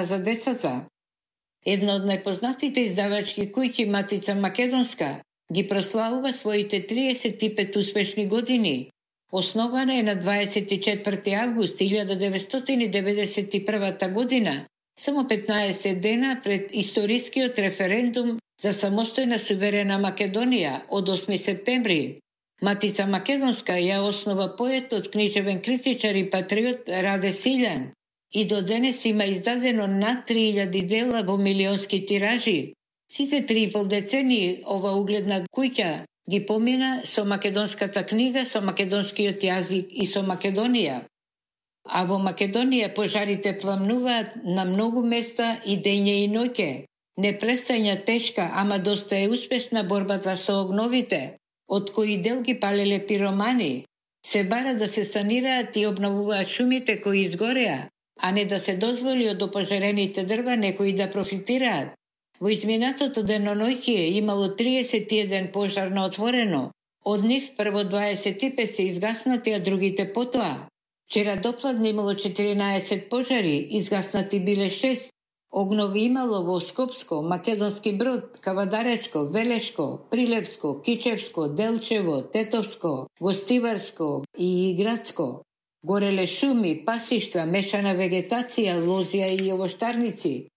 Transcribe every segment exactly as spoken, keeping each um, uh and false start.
за децата. Една од најпознатите издавачки куќи, Матица Македонска, ги прославува своите триесет и пет успешни години. Основана е на дваесет и четврти август илјада деветстотини деветдесет и прва година, само петнаесет дена пред историскиот референдум за самостојна суверена Македонија од осми септември. Матица Македонска ја основа поетот, книжевен критичар и патриот Раде Силјан и до денес има издадено над три илјади дела во милионски тиражи. Сите три и пол децении ова угледна куќа ги помина со македонската книга, со македонскиот јазик и со Македонија. А во Македонија пожарите пламнуваат на многу места и дење и ноќе. Не престања тешка, ама доста е успешна борбата со огновите, од кои дел ги палеле пиромани. Се бара да се санираат и обновуваат шумите кои изгореа, а не да се дозволи од опожарените дрва некои да профитираат. Во изминатото деноноќие имало триесет и еден пожар на отворено. Од нив прво дваесет и пет се изгаснати, а другите потоа. Вчера допладне имало четиринаесет пожари, изгаснати биле шест. Огнови имало во Скопско, Македонски Брод, Кавадаречко, Велешко, Прилепско, Кичевско, Делчево, Тетовско, Гостиварско и Градско. Гореле шуми, пасишта, мешана вегетација, лозија и овоштарници.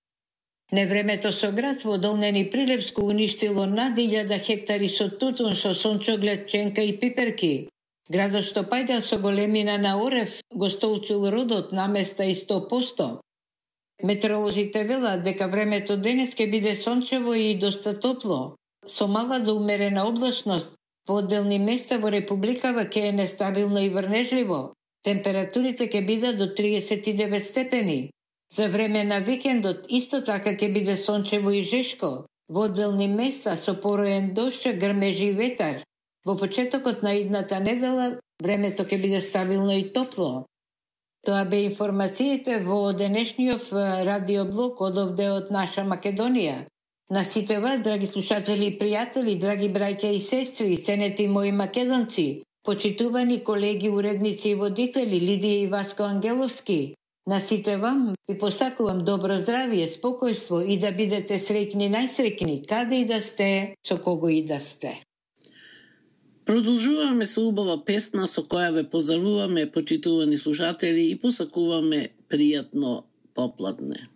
Невремето со град во Долнени Прилепско уништило над илјада хектари со тутун, со сончоглед, ченка и пиперки. Градот што паѓа со големина на орев го столчил родот на места и сто посто. Метеоролозите велат дека времето денес ќе биде сончево и доста топло, со мала до умерена облачност. Во одделни места во Републикава ќе е нестабилно и врнежливо. Температурите ќе бидат до триесет и девет степени. За време на викендот исто така ќе биде сончево и жешко. Во одделни места со пороен дожд, грмежи и ветар. Во почетокот на идната недела времето ќе биде стабилно и топло. Тоа бе информациите во денешниот радиоблог од овде од наша Македонија. На сите вас, драги слушатели и пријатели, драги браќа и сестри, ценети мои македонци, почитувани колеги, уредници и водители Лидија и Васко Ангеловски, на сите вам ви посакувам добро здравје, спокојство и да бидете среќни, најсреќни, каде и да сте, со кого и да сте. Продолжуваме со убава песна со која ве поздравуваме, почитувани слушатели, и посакуваме пријатно попладне.